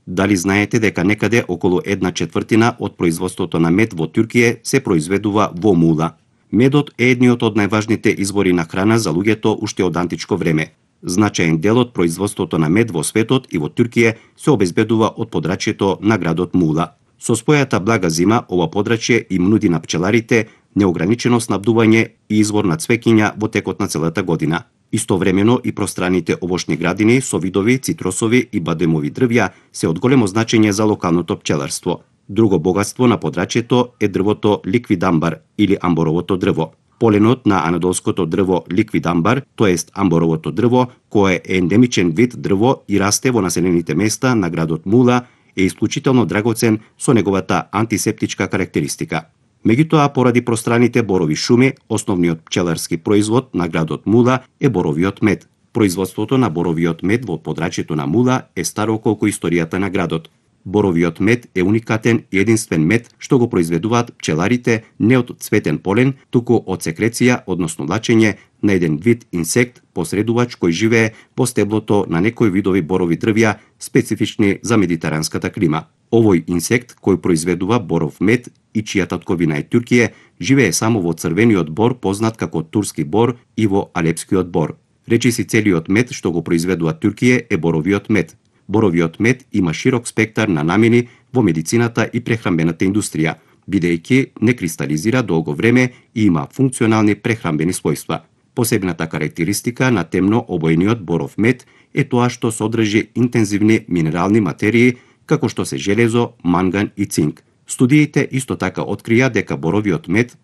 Дали знаете дека некаде околу 1/4 од производството на мед во Турција се произведува во Мула? Медот е едниот од најважните извори на храна за луѓето уште од античко време. Значаен дел од производството на мед во светот и во Турција се обезбедува од подрачјето на градот Мула. Со својата блага зима, ова подрачје им нуди на пчеларите неограничено снабдување и извор на цвеќиња во текот на целата година. Истовремено и пространите овошни градини со видови цитрусови и бадемови дрвја се од големо значење за локалното пчеларство. Друго богатство на подрачјето е дрвото ликвидамбар или амборовото дрво. Поленот на анадолското дрво ликвидамбар, тоест амборовото дрво, кое е ендемичен вид дрво и расте во населените места на градот Мула, е исклучително драгоцен со неговата антисептичка карактеристика. Меѓутоа, поради пространите борови шуми, основниот пчеларски производ на градот Мула е боровиот мед. Производството на боровиот мед во подрачјето на Мула е старо колку историјата на градот. Боровиот мед е уникатен и единствен мед што го произведуваат пчеларите не од цветен полен, туку од секреција, односно лачење на еден вид инсект посредувач кој живее во стеблото на некои видови борови дрвја специфични за медитеранската клима. Овој инсект кој произведува боров мед и чија татковина е Турција, живее само во црвениот бор познат како турски бор и во алепскиот бор. Речиси целиот мед што го произведува Турција е боровиот мед. Боровиот мед има широк спектар на намени во медицината и прехрамбената индустрија, бидејќи не кристализира долго време и има функционални прехрамбени својства. Посебната карактеристика на темно обојниот боров мед е тоа што содржи интензивни минерални материи како што се железо, манган и цинк. Студиите исто така открија дека боровиот мед